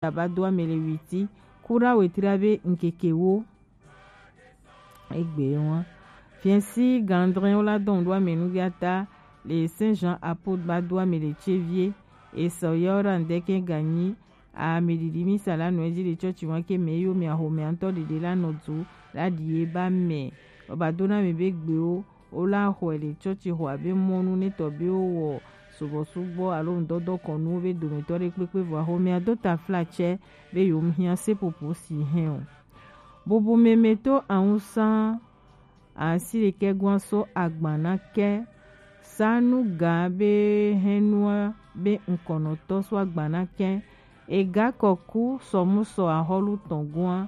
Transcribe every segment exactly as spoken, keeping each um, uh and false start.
Daba do ame le witi, kura wetri abe nkeke wo. Egbe wa. Fiensi gandrin wo la dɔn do ame nu biata le Saint Jean Apôtre ba do ame le tsevie. Esɔ yɔ ra ndeke ganyi. Ame didi mi sa la nɔ edzi le tsɔtsi wa ke me yo mi ahome antɔ dede la nɔ du la die ba me. Oba do na me be gbe wo. Wo la xɔe le tsɔtsi xɔ abe mɔnu netɔ be wo wɔ subɔsubɔ alo ŋdɔdɔ kɔnuwo be dometɔ ɖe kpekpe vɔ axomea do taflatsɛ be yewo hiã seƒoƒo si hɛn o. Bubu meme to awusã asi ɖekɛ gɔ̃a so agba na kɛ. Sanu ga be hɛnua be ŋkɔnɔtɔ so agba na kɛ. Ega kɔku sɔmusɔ ahɔlu tɔn gɔ̃a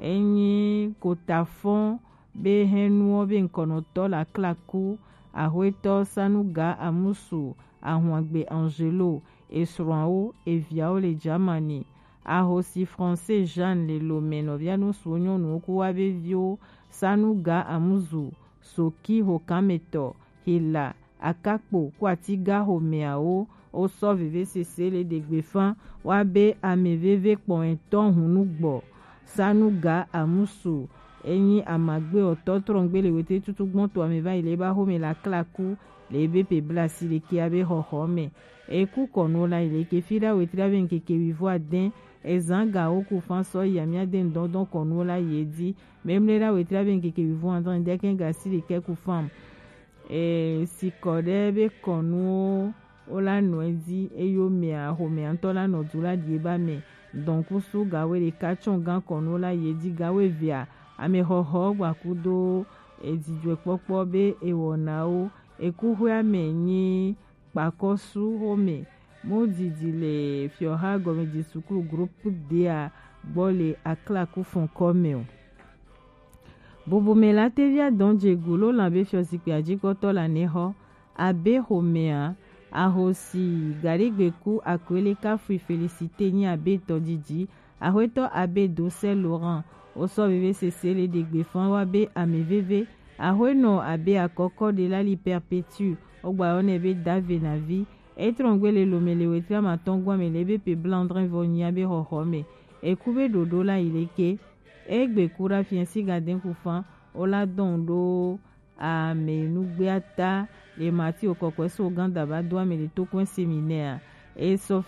enyi kotafɔn be hɛnuɔ be ŋkɔnɔtɔ la klaku, ahwetɔ Sanuga Amusu, Ahuagbe Angelo, esrɔ̃awo, eviawo le Germany. Ahosi Français Jeanne le lome nɔvia nusuwo nyɔnuwo ku wa be viwo, Sanuga Amuzu, Soki Hokametɔ, Hila, Akakpo ku Atiga homeawo, wo sɔ vevesese le ɖegbefa wa be ame veve kpɔn etɔn hunu gbɔ. Sanuga Amusu enyi amagbe ɔtɔ trɔngbe le wete tutu gbɔn to ame va yi le ba home la klaku le ebe pe blasi le ke abe xɔxɔ me. Eku kɔnu la yi le ke fi ɖa wetri abe ŋkeke wivo adɛn. Ezan ga wo ku fan sɔ yi amia de ŋdɔndɔn kɔnu la yi edi. Memle ɖa wetri abe ŋkeke wivo adɛn de kɛn gasi le ke ku fan. E, sikɔ ɖe be kɔnuwo wo la nɔ edzi eye wo mea xomea ŋutɔ la nɔ du la ɖi eba me. Dɔnkusu gawe ɖeka tsɔ gan kɔnuwo la yi edzi gawe evea ame xɔxɔ gbakudo edzidzɔkpɔkpɔ be ewɔnawo ekuxɔea me nyi kpakɔsu xome mu didi le fiɔha gɔmedzi sukulu groupe D a gbɔ le aklaku fɔnkɔ me o. Bubume la tevia dɔn dzegu lo lan be fiɔzikpui adzikpɔtɔ la nexɔ abe xomea ahosi gaɖegbeku akwele kafui Félicité nyi abe tɔdidi axwetɔ abe dosɛ Laurent wosɔ vevesese le ɖegbe fan wa be ame veve axwenɔ abe akɔkɔ ɖe la li Perpétue wogba yɔ nɛ be dave navi etrɔngbe le lome le wetri amatɔn gɔme le be pe blandrin vɔ nyi abe xɔxɔ me eku be ɖoɖo la yi leke. Egbe ku ɖa fiɛsi gadɛn ku fan wo la dɔn ɖo ame nugbea ta le mati okɔkɔe so ganda ba do ame le tokɔe seminɛa esɔ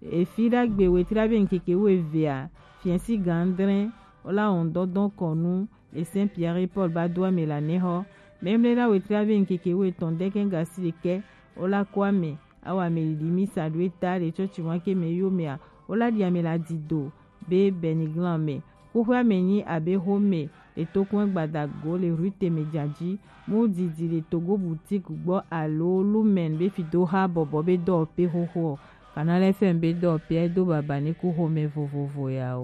efi ɖa gbe wetri abe ŋkeke wo evea fiɛsi gandrɛn wo la wɔn dɔdɔn kɔnu le Saint Pierre Paul ba do ame la nexɔ. Memle la wetri abe ŋkeke wo etɔn dɛkɛ gasi ɖekɛ wo la kɔ ame awa me ɖiɖi misa ɖo eta ɖe tsɔtsi wa ke me yo mea wo la ɖi ame la dido be Beniglan me. Kuxɔa me nyi abe xome le tokun gbadago le rue Temejaji mu didi le Togo boutique gbɔ alo Lumen be fidoha bɔbɔ be dɔwɔƒe xoxo. Canal F M be dɔwɔƒea do baba ne ku xome vovovo ya o.